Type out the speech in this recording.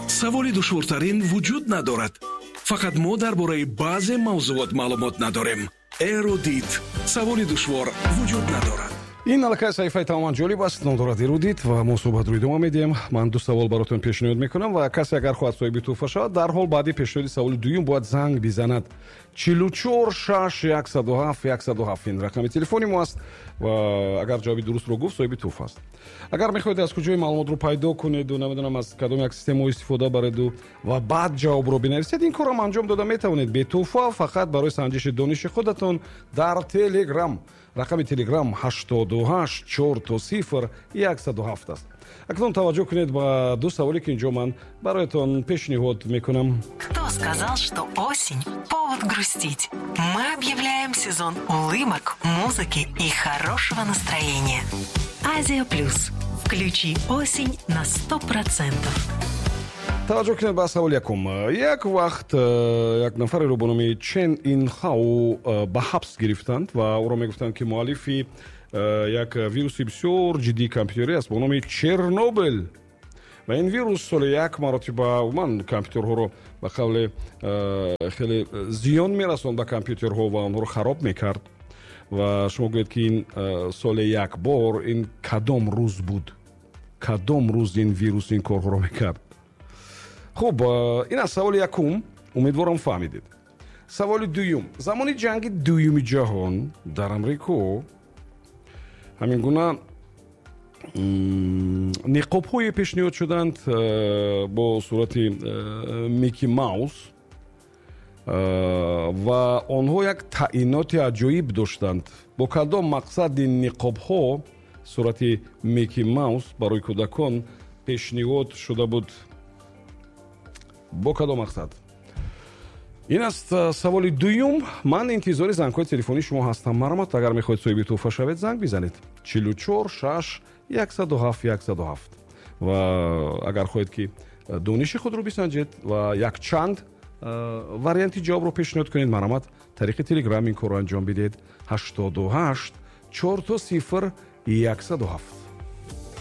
Саволи душвортарин вуҷуд надорад, фақат мо дар бораи баъзе мавзуот маълумот надорем. Эрудит, саволи душвор вуҷуд надорад. Ин аллакай саҳифаи тамоман ҷолиб аст, ном дорад «Эрудит», ва мо суҳбатро идома медиҳем. Ман ду савол баротон пешниҳод мекунам ва касе агар хоҳад соҳиби тӯҳфа шавад, дарҳол баъди пешниҳоди саволи дуюм бояд занг бизанад. 44 6 107 107, ин рақами телефони мо аст ва агар ҷавоби дурустро гуфт, соҳиби тӯҳфа аст. Агар мехоҳед аз куҷои маълумотро пайдо кунеду, намедонам, аз кадом як системао истифода бареду ва баъд ҷавобро бинависед, ин корам анҷом дода метавонед бетӯҳфа, фақат барои санҷиши дониши худатон дар Телеграм. Рақами Телеграм 88 000 107 аст. Акнун таваҷҷӯҳ кунед ба ду саволе, ки инҷо ман бароятон пешниҳод мекунам. Кто сказал, что осень – повод грустить? Мы объявляем сезон улыбок, музыки и хорошего настроения. Азия Плюс. Включи осень на 100%. Таваҷҷӯҳ кунед ба саволи якум. Як вақт як нафареро бо номи Чен Инхао ба ҳабс гирифтанд ва ӯро мегуфтанд, ки муаллифи як вируси бисёр ҷиддии компютерӣ аст бо номи Чернобыл. Ва ин вирус соли як маротиба умуман компютерҳоро, ба қавле, хеле зиён мерасонд ба компютерҳо ва онҳоро хароб мекард. Ва шумо гӯед, ки ин соли як бор, ин кадом рӯз буд, кадом рӯз ин вирус ин корҳоро мекард? Хуб, ин аз саволи якум, умедворам, фаҳмидед. Саволи дуюм: замони Ҷанги Дуюми Ҷаҳон дар Амрико ҳамин гуна ниқобҳое пешниҳод шуданд бо сурати Микки Маус ва онҳо як таъиноти аҷоиб доштанд. Бо кадом мақсад ин ниқобҳо сурати Микки Маус барои кӯдакон пешниҳод шуда буд? Бо кадом мақсад? Ин аст саволи дуюм. Ман интизори зангҳои телефонии шумо ҳастам. Марҳамат, агар мехоҳед соҳиби тӯҳфа шавед, занг бизанед: 44 6 107 107. Ва агар хоҳед, ки дониши худро бисанҷед ва якчанд варианти ҷавобро пешниҳод кунед, марҳамат, тариқи Телеграм ин корро анҷом бидиҳед: 88 000 107.